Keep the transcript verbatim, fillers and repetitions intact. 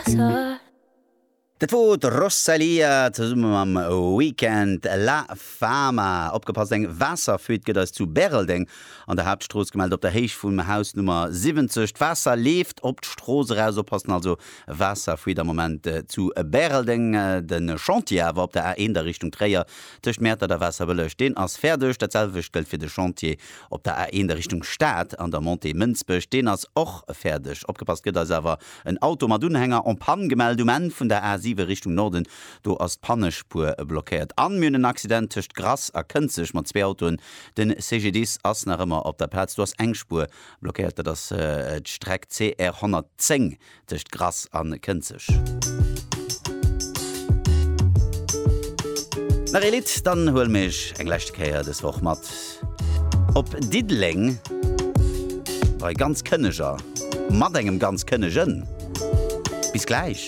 Waasser. Dat wor d'Rosalía zesumme mam Weeknd La Fama. Opgepasst, eng Waasserfuite gëtt eis zu Bäreldeng an der Haaptstrooss gemellt, op der Héicht vum Haus Nummer siwwenzeg. D'Waasser leeft op d'Strooss eraus. Oppassen also, Waasserfuite am Moment zu Bäreldeng. De Chantier awer op der A eent a Richtung Tréier tëscht Mäertert a Waasserbëlleg, deen ass fäerdeg. Dat selwecht gëllt fir de Chantier op der A eent a Richtung Stad an der Montée Mënsbech, deen ass och fäerdeg. Opgepasst, gëtt eis awer en Auto mat Unhänger en panne gemellt um Enn vun der A siwe Richtung Norden, do ass d'Pannespuer blockéiert. An mir hunn en Accident tëscht Grass a Kënzeg mat zwee Autoen. Den C G D I S ass nach ëmmer op der Plaz, do ass eng Spuer blockéiert. Dat ass d'Streck C R honnertzéng tëscht Grass a Kënzeg. Nach ee Lidd, dann huele mir iech eng leschte Kéier dës Woch mat op Diddeleng bei ganz Kënneger mat engem ganz Kënnegen. Bis gläich.